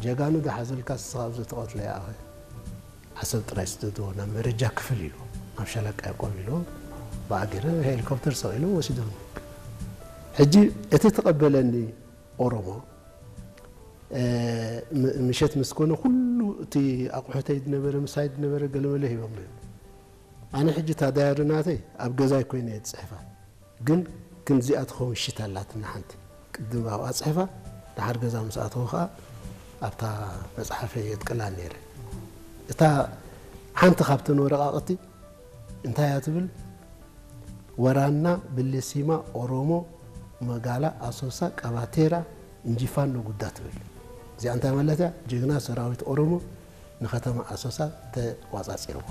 ጀጋኑ ዝሓዘልካ ንስኻ ኣብዚ ተቐትሎ ይኣኸ ዓሰብ ጥራይ ስደድዎ ናብ መረጃ ክፍል ኢሉ ኣብ ሻለቃ ያቆብ ኢሉ ብኣጊረ ሄሊኮፕተር ሰቒሉ ወሲዶም። ሕጂ እቲ ተቐበለኒ ኦሮሞ ምሸት ምስ ኮነ ኩሉ እቲ ኣቑሑተይ ዝነበረ ምሳይ ዝነበረ ገለመለ ሂቦም። ኣነ ሕጂ እታ ዳያሪ ናተይ ኣብ ገዛይ ኮይነ እየ ዝፅሕፋ። ግን ክንዚኣ ትኸውን ሽት ኣላትና ሓንቲ ቅድም ኣብኣ ፅሕፋ። ደሓር ገዛ ምስ ኣተኹ ከዓ ኣብታ መፅሓፈይ የጥቅላ ነይረ። እታ ሓንቲ ካብተን ወረቃቅቲ እንታይ እያ ትብል? ወራና ብልሲማ ኦሮሞ መጋላ ኣሶሳ ቀባቴራ እንጂፋኖ ጉዳ ትብል። እዚኣ እንታይ ማለት እያ? ጅግና ሰራዊት ኦሮሞ ንከተማ ኣሶሳ ተቋጻጺርዋ።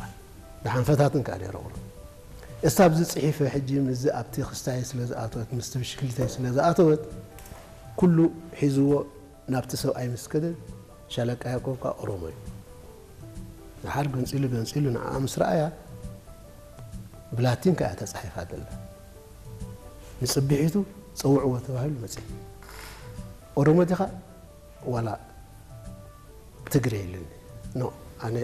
ደሓን ፈታትን ከኣ ነይረ ቁሩብ። እሳ ኣብዚ ጽሒፈ ሕጂ ምስዚ ኣብቲ ክስታይ ስለ ዝኣተወት፣ ምስቲ ብሽክሊተይ ስለ ዝኣተወት፣ ኩሉ ሒዝዎ ናብቲ ሰብኣይ ምስ ከደ፣ ሻለቃ ያዕቆብ ከኣ ኦሮሞ እዩ። ደሓር ገንጺሉ ገንጺሉ ንዓኣ ምስ ረኣያ፣ ብላቲን ከኣ ተጻሒፋ ዘላ። ንጽብሒቱ ጸውዕዎ ተባሂሉ መጺኡ። ኦሮሞ ዲኻ ዋላ ትግሬ ኢሉኒ። ኖ፣ ኣነ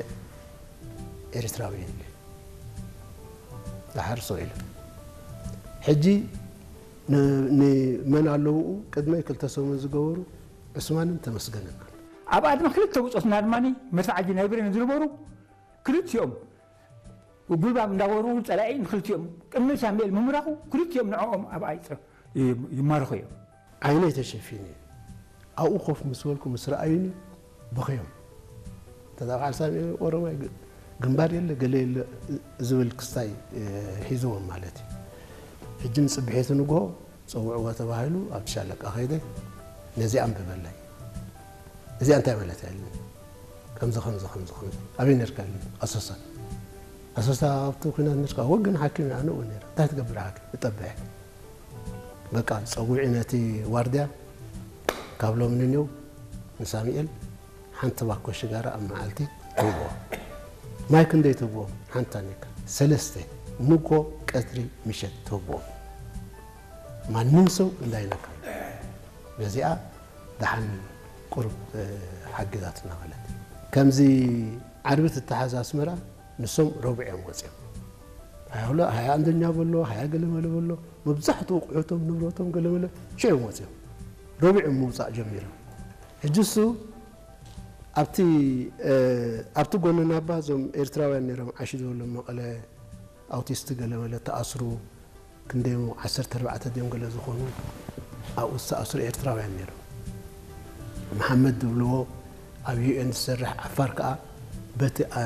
ኤርትራዊ እየ ኢለ። ደሓር ሰው ኢሉ። ሕጂ ን-፣ ንመን ኣለውኡ ቅድመይ ክልተ ሰሙን ዝገበሩ ዑስማንን ተመስገንን ኣሎ። ኣብኣ ድማ ክልተ ብጾትና ድማ መድፍዓጂ ናይ ብሬን ዝነበሩ ክልቲኦም ጉልባብ እንዳወርወሩ ጸላኢ ንክልቲኦም ቅድሚ ሳሙኤል ምምራቑ ክልቲኦም ንዕኦም ኣብኣ ይጸ-፣ ይማርኹ እዮም። ዓይነይ ተሸፊኑ እዩ። ኣብኡ ኮፍ ምስ በልኩ ምስ ረኣዩኒ በኸዮም። ተዛ በዓል ሳሚ ኦሮማይ ግ-፣ ግንባር የለ ገለ የለ ዝብል ክስታይ፣ እ፣ ሒዝዎም ማለት እዩ። ሕጂ ንጽብሒቱ ንግሆ ጸውዕዎ ተባሂሉ ኣብቲ ሻለቃ ከይደ ነዚ ኣንብበለይ። እዚኣ እንታይ ማለት እያ ኢሉኒ። ከምዚ፣ ከምዚ፣ ከምዚ፣ ከምዚ። ኣበይ ነርካ ኢሉኒ። ኣሶሳ። ኣሶሳ ኣብቲ ኲናት ነርካ? እወ ግን ሓኪም እየ ኣነ እውን ነይረ። እንታይ ትገብር ሓኪም? እጠብሕ። በቃ ጸዊዑ ነቲ ዋርድያ ካብ ሎሚ ንኔው ንሳሙኤል ሓንቲ ባኮ ሽጋራ ኣብ መዓልቲ ትህብዎ። ማይ ክንደይ ትህብዎ? ሓንቲ ታኒካ። ሰለስተ ንጎ፣ ቀትሪ፣ ምሸት ትህብዎ። ማንም ሰው እንዳይነካ። በዚኣ ደሓን ቁሩብ፣ እ፣ ሓጊዛትና ማለት እዩ። ከምዚ ዓርቢ ትተሓዝ ኣስመራ ንሶም ረቡዕ እዮም ወፂኦም። ሃያ ሁለ-፣ ሃያ ኣንደኛ በሎ፣ ሃያ ገለመለ በሎ፣ መብዛሕትኡ ኣቑሑቶም ንብረቶም ገለመለ ሽዑ እዮም ወፂኦም። ረቡዕ እዮም ምውፃእ ጀሚሮም። ሕጂ እሱ ኣብቲ፣ እ፣ ኣብቲ ጎኒ ናባ እዞም ኤርትራውያን ነይሮም ዓሽ ዝበሎም መቐለ ኣውቲስት ገለመለ ተኣስሩ። ክንደይ ዓሰርተ ኣርባዕተ ድዮም ገለ ዝኾኑ ኣብኡ ዝተኣስሩ ኤርትራውያን ነይሮም። መሓመድ ዝብልዎ ኣብ ዩ ኤን ዝሰርሕ ዓፋር ከኣ በቲ ኣ-፣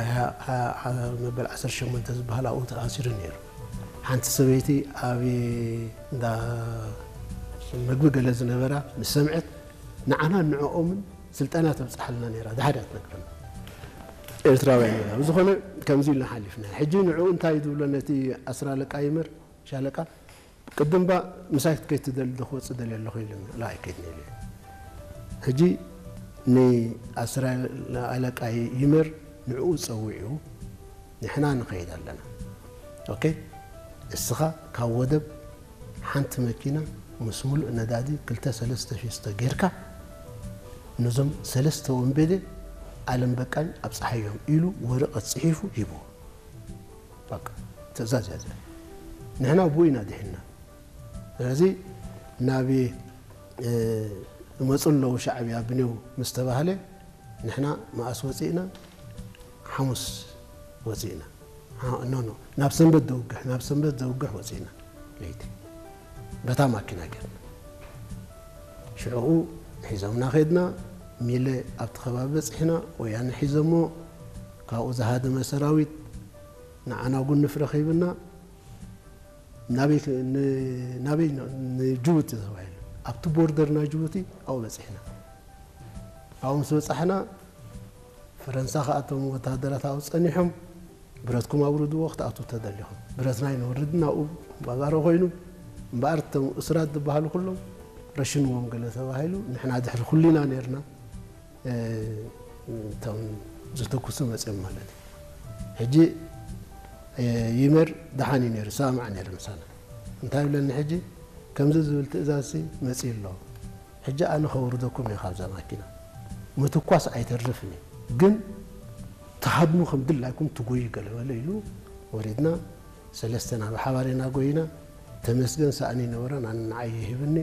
ኣ-፣ ኣ-፣ መበል ዓሰርተ ሸሞንተ ዝበሃል ኣብኡ ተኣሲሩ ነይሩ። ሓንቲ ሰበይቲ ኣብ እንዳ መግቢ ገለ ዝነበራ ምስ ሰምዐት ንዓና ንዕኦምን ስልጠና ተብጽሓልና ነይራ። ደሓር እያ ትነግረና። ኤርትራውያን ኢና። ብዝኾነ ከምዚ ኢልና ሓሊፍና። ሕጂ ንዕኡ እንታይ ዝብሎ ነቲ ኣስር ኣለቃ ይመር ሻለቃ፣ ቅድም ባ ምሳይ ክትከይድ ትደሊ ዶ ክወጽእ ደልየ ኣለኹ ኢሉኒ። ላ ኣይከይድን ኢለ። ሕጂ ንኣስር ኣለቃ ይመር ንዕኡ ጸዊዑ ንሕና ንኸይድ ኣለና። ኦኬ? እስኻ ካብ ወደብ ሓንቲ መኪና ምስ ሙሉእ ነዳዲ ክልተ ሰለስተ ፊስቶ ጌርካ ነዞም ሰለስተ ወንበዴ ኣለም በቃኝ ኣብጽሓዮም ኢሉ ወረቐት ጽሒፉ ሂብዎ። በቃ ትእዛዝ እያ እዚኣ። ንሕና ብኡ ኢና ድሒንና። ስለዚ ናብ፣ እ፣ ይመጹ ኣለዉ ሻዕብያ ብኔው ምስ ተባህለ ንሕና መኣስ ወጺእና? ሓሙስ ወጺእና። ሓ-፣ ኖ፣ ኖ፣ ናብ ሰንበት ዘውግሕ፣ ናብ ሰንበት ዘውግሕ ወጺእና። ለይቲ በታ ማኪና ጌርና። ሽዑኡ ሒዞምና ኸድና። ሚለ ኣብቲ ከባቢ በጺሕና። ወያነ ሒዞሞ። ካብኡ ዝሃደመ ሰራዊት ንዓና ጉንፍ ረኺብና። ናበይ ክ-፣ ን-፣ ናበይ ን-፣ ንጅቡቲ ተባሂሉ። ኣብቲ ቦርደር ናይ ጅቡቲ ኣብኡ በጺሕና። ኣብኡ ምስ በጻሕና፣ ፈረንሳ ከኣ እቶም ወተሃደራት ኣብኡ ጸኒሖም፣ "ብረትኩም ኣውርድዎ ክትኣትዉ ተደሊኹም። ብረትና ኣይነውርድን ኣብኡ ባዛሮ ኮይኑ፣ እምበኣር እቶም እሱራት ዝበሃሉ ኩሎም ረሽንዎም" ገለ ተባሂሉ። ንሕና ድሕሪ ኩሉ ኢና ነይርና። እ፣ እቶም ዝተኩሱ መጺኦም ማለት እዩ። ሕጂ፣ እ፣ ይመር ደሓን እዩ ነይሩ፣ ይሰማማዕ ነይሩ ምሳና። እንታይ ይብለኒ ሕጂ፣ "ከምዚ ዝብል ትእዛዝሲ መጺኡ ኣሎ። ሕጂ ኣነ ከውርደኩም እየ ካብዛ ማኪና። ምትኳስ ኣይተርፍን እዩ። ግን ትሃድሙ ከም ድላይኩም ትጎዩ ገለ በለ ኢሉ ወሪድና። ሰለስተና ብሓባር ኢና ጎይና። ተመስገን ሳእኒ ነበረ፣ ንዓይ ይህብኒ።